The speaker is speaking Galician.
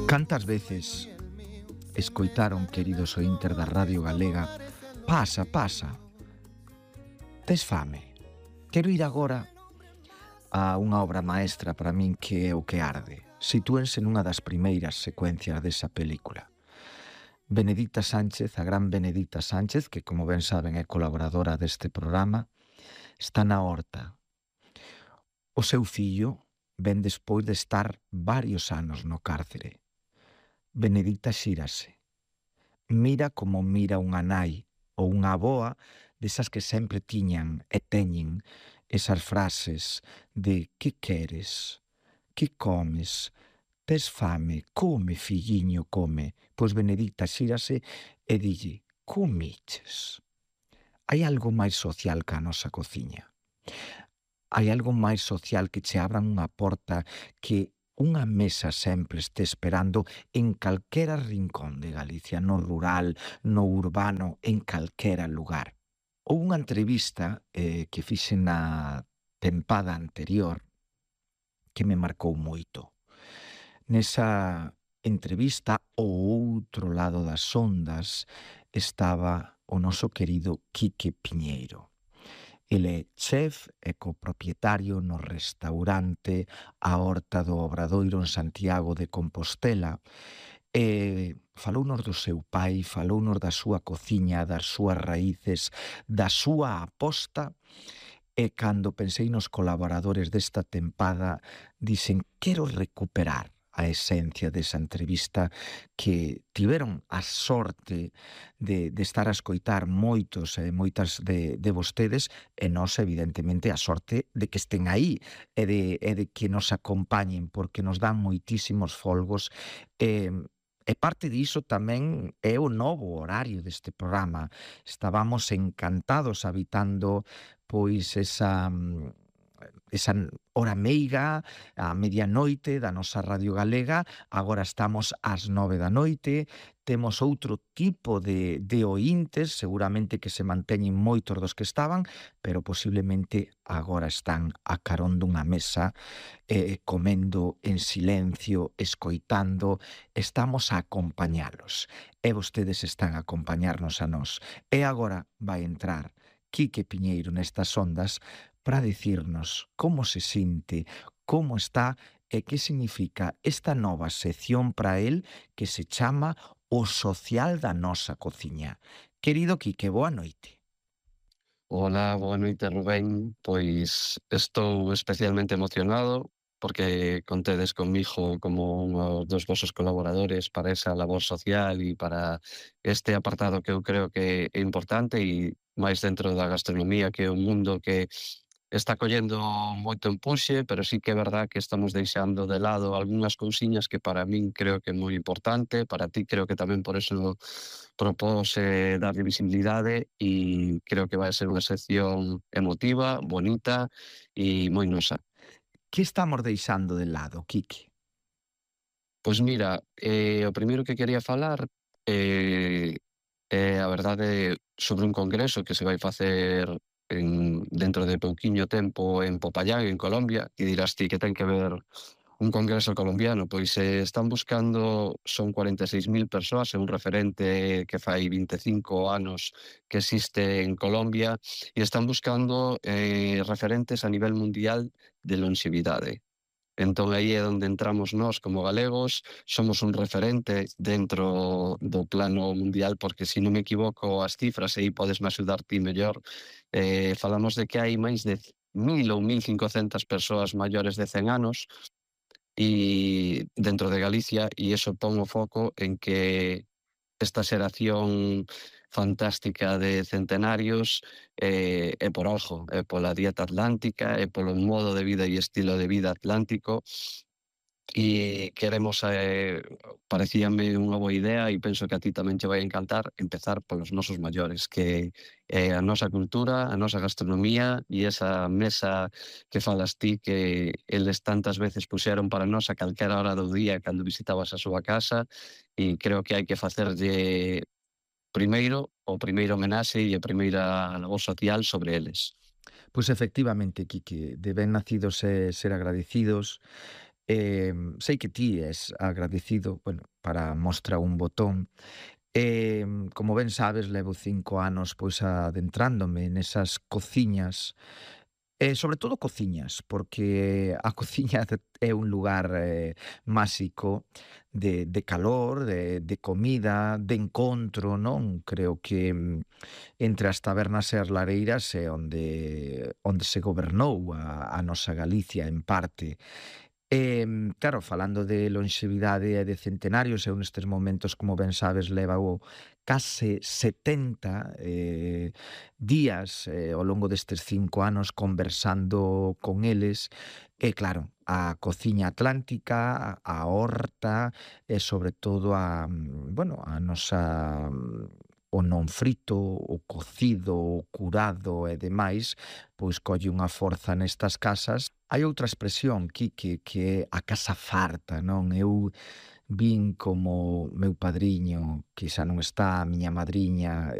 Cantas veces escoitaron, queridos ointer da Radio Galega, pasa, pasa, tes fame? Quero ir agora a unha obra maestra para min que é O que arde. Sitúense nunha das primeiras secuencias desa película. Benedita Sánchez, a gran Benedita Sánchez, que como ben saben é colaboradora deste programa, está na horta. O seu fillo ven despois de estar varios anos no cárcere. Benedita xírase. Mira como mira unha nai ou unha avoa desas que sempre tiñan e teñen esas frases de que queres, que comes, tes fame, come, filliño, come. Pois Benedita xírase e dille, comiches. Hai algo máis social que a nosa cociña. Hai algo máis social que che abran unha porta, que unha mesa sempre este esperando en calquera rincón de Galicia, no rural, no urbano, en calquera lugar. Houve unha entrevista que fixen na tempada anterior que me marcou moito. Nesa entrevista, ao outro lado das ondas, estaba o noso querido Quique Piñeiro. Ele é chef e copropietario no restaurante A Horta do Obradoiro en Santiago de Compostela e falounos do seu pai, falounos da súa cociña, das súas raíces, da súa aposta e cando pensei nos colaboradores desta tempada dixen, quero recuperar a esencia desa entrevista que tiveron a sorte de estar a escoitar moitos e moitas de vostedes e nós, evidentemente, a sorte de que estén aí e de que nos acompañen porque nos dan moitísimos folgos e parte diso tamén é o novo horario deste programa. Estábamos encantados habitando pois esa hora meiga, a medianoite da nosa Radio Galega. Agora estamos ás 9 da noite, temos outro tipo de oíntes, seguramente que se manteñen moitos dos que estaban, pero posiblemente agora están a carón dunha mesa, comendo en silencio, escoitando, estamos a acompañalos, e vostedes están a acompañarnos a nós. E agora vai entrar Quique Piñeiro nestas ondas para dicirnos como se sinte, como está e que significa esta nova sección para el que se chama O Social da Nosa Cociña. Querido Quique, boa noite. Hola, boa noite, Rubén. Pois estou especialmente emocionado porque contedes comigo como un dos vosos colaboradores para esa labor social e para este apartado que eu creo que é importante e máis dentro da gastronomía, que é un mundo que está collendo moito empuxe, pero sí que é verdad que estamos deixando de lado algunhas cousiñas que para min creo que é moi importante, para ti creo que tamén por eso propose darlle visibilidade e creo que vai ser unha sección emotiva, bonita e moi nosa. Que estamos deixando de lado, Quique? Pois mira, o primeiro que quería falar é a verdade sobre un congreso que se vai facer dentro de pouquiño tempo en Popayán, en Colombia, e dirás ti que ten que ver un congreso colombiano. Pois están buscando, son 46.000 persoas, é un referente que fai 25 anos que existe en Colombia, e están buscando referentes a nivel mundial de longevidade. Entón aí é onde entramos nós como galegos, somos un referente dentro do plano mundial, porque se non me equivoco as cifras, e aí podesme axudar ti mellor, falamos de que hai máis de 1.000 ou 1.500 persoas maiores de 100 anos e dentro de Galicia, e iso pon o foco en que esta xeración fantástica de centenarios é por algo, é pola dieta atlántica, é polo modo de vida e estilo de vida atlántico, e queremos, parecíame unha boa idea e penso que a ti tamén che vai encantar empezar polos nosos maiores, que é a nosa cultura, a nosa gastronomía e esa mesa que falas ti que eles tantas veces puxeron para nós a calquera hora do día cando visitabas a súa casa, e creo que hai que facerlle primeiro o primeiro homenaxe e a primeira labor social sobre eles. Pois efectivamente, Quique, de ben nacidos ser agradecidos. Sei que ti és agradecido, bueno, para mostra un botón. Como ben sabes, levo 5 anos, pois, adentrándome nesas cociñas, sobre todo cociñas, porque a cociña é un lugar, máxico de calor, de comida, de encontro, non? Creo que, entre as tabernas e as lareiras é onde se gobernou a nosa Galicia en parte. Claro, falando de lonxevidade e de centenarios, eu nestes momentos, como ben sabes, levo case 70 días ao longo destes 5 anos conversando con eles e claro, a cociña atlántica, a horta e sobre todo bueno, a nosa o non frito, o cocido, o curado e demais, pois colle unha forza nestas casas. Hai outra expresión, Quique, que é a casa farta, non? Eu vin como meu padriño, que xa non está, a miña madriña,